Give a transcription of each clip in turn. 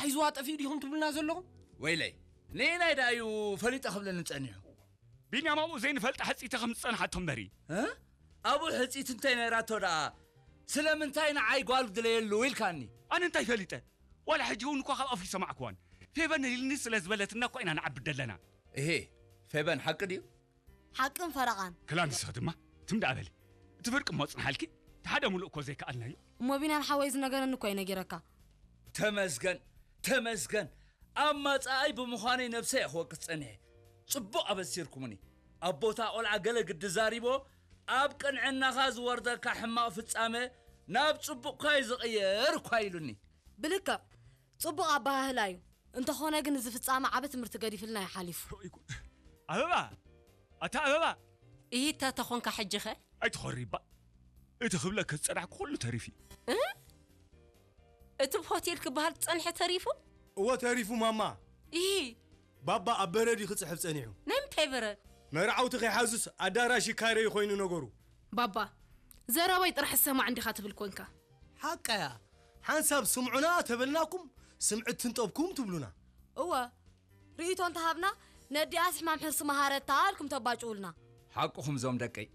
ሒዝዋ ጠፊኡ ዲኹም ትብሉና ዘለኹም? ወይለይ፣ ንየናይ ደኣ እዩ ፈሊጠ ክብለኒ ጸኒሑ? ቢንያም ኣብኡ ዘይንፈልጣ ሕጽይቲ ከም ዝጸንሓቶ እምበሪ። እ? ኣብኡ ሕጽይቲ እንታይ ነይራቶ ደኣ? ስለምንታይ ንዓይ ጓል ግደለየሉ ኢልካኒ? ኣነ እንታይ ፈሊጠ? ዋላ ሕጂ እውን እኳ ካብ ኣፉ ይሰማዕክዋን። ፌበን ንሊልኒ ስለ ዝበለትና እኳ ኢና ንዓብድ ዘለና። እሄ፣ ፌበን ሓቂ ድዩ? ሓቅን ፈረቓን። ክላንስኺ ድማ ትም ደኣ በሊ። እቲ ፍርቂ እሞ ጽንሓልኪ፣ እቲ ሓደ ሙሉእ እኮ ዘይከኣልናዮ። እሞ ቢንያም ሓወይ ዝነገረኒ እኮ እዩ ነጊረካ። ተመስገን፣ ተመስገን። ኣማጻኣይ ብምዃነይ ነብሰይ እየ ክወቅስ ጸኒሐ። ጽቡቕ ኣበሲርኩምኒ። ኣብ ቦታ ቆልዓ ገለ ግዲ ዛሪቦ፣ ኣብ ቅንዕናኻ ዝወርደካ ሕማቕ ፍጻመ ናብ ጽቡቕካ እዩ ዝቕየር እኳ ኢሉኒ። ብልክዕ ጽቡቕ ኣበሃህላ እዩ። እንተኾነ ግን እዚ ፍጻመ ዓቢ ትምህርቲ ገዲፍልና እዩ ሓሊፉ። ኦይ ጉድ። ኣበባ! ኣታ ኣበባ! ኢሂታ ተኾንካ ሕጂ ኸ? ኣይትኾሪ እባ። እቲ ክብለኪ ዝጸናሕኩ ኩሉ ተሪፉ እዩ። እ? እቲ ሆቴል ክበሃል ዝጸንሐ ተሪፉ? እወ ተሪፉ ማማ። ኢሂ። ባባ ኣብ በረድ እዩ ክጽሕፍ ጸኒሑ። ናይ ምንታይ በረድ? መርዓውቲ ከይሓዙስ ኣዳራሽ ይካረዩ ኮይኑ ነገሩ። ባባ፣ ዘረባይ ጥራሕ ሰማዕ እንዲኻ ትብል ኮንካ። ሓቃያ፣ ሓንሳብ ስምዑና ተበልናኩም፣ ስምዒት ትንጠብኩም ትብሉና። እወ፣ ርእይቶ እንተሃብና፣ ነዲኣስ ሕማም ሕርሲ መሃረታ ኣልኩም ተባጭውልና። ሓቅኹም ዞም ደቀይ።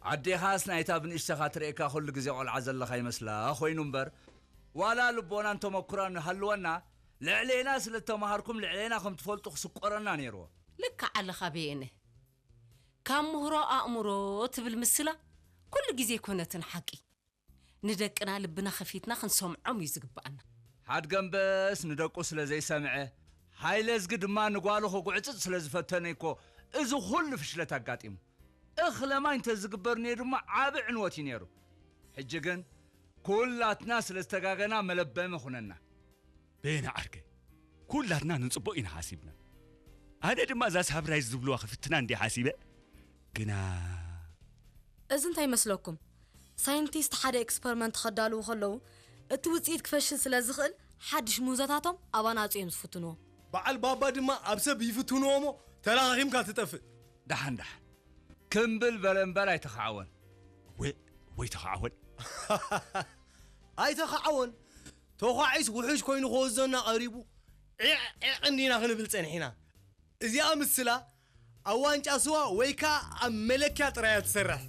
ኣዴኻስ ናይታ ብንእሽተኻ ትርእየካ ኩሉ ግዜ ቆልዓ ዘለኻ ይመስላ ኮይኑ እምበር፣ ዋላ ልቦናን ተመኩራን ሃልወና፣ ልዕሌና ስለ እተማሃርኩም ልዕሌና ከም ትፈልጡ ክስቆረና ነይርዎ። ልክዕ ኣለኻ በየነ። ካብ ምህሮ ኣእምሮ ትብል ምስላ ኩሉ ግዜ ኮነትን ሓቂ። ንደቅና ልብና ከፊትና ክንሰምዖም እዩ ዝግብኣና። ሓድገምበስ ንደቁ ስለ ዘይሰምዐ፣ ሃይለዝጊ ድማ ንጓሉ ክጉዕጽጽ ስለ ዝፈተነ እኮ እዚ ኩሉ ፍሽለት ኣጋጢሙ። እኽለ ማይ እንተዝግበር ነይሩ ድማ ዓቢ ዕንወት እዩ ነይሩ። ሕጂ ግን ኩላትና ስለ ዝተጋገና መለበሚ ኩነና። በየነ ዓርከይ፣ ኩላትና ንጽቡቕ ኢና ሓሲብና። ኣነ ድማ እዛ ሳፕራይዝ ዝብልዋ ክፍትና እንድየ ሓሲበ። ግና እዚ እንታይ ይመስለኩም? ሳይንቲስት ሓደ ኤክስፐሪመንት ከዳልዉ ከለዉ፣ እቲ ውጽኢት ክፈሽል ስለ ዝኽእል፣ ሓድሽ ምህዞታቶም ኣባና ኣጽዮም ዝፍትንዎ። በዓል ባባ ድማ ኣብ ሰብ ይፍትንዎ እሞ ተላኻኺምካ ትጠፍእ። ደሓን ደሓን። ክምብል በለ እምበር ኣይተኻዕወን። ወይ፣ ወይ ተኻዕወን። ኣይተኻዕወን። ተዃዒስ ውሑጅ ኮይኑ ክወዘና ቀሪቡ፣ ዒቕ ዒቕ እንዲና ክንብል ጸኒሕና። እዚኣ ምስላ ኣብ ዋንጫ ስዋ ወይ ከኣ ኣብ መለኪያ ጥራይ እያ ትሰርሕ።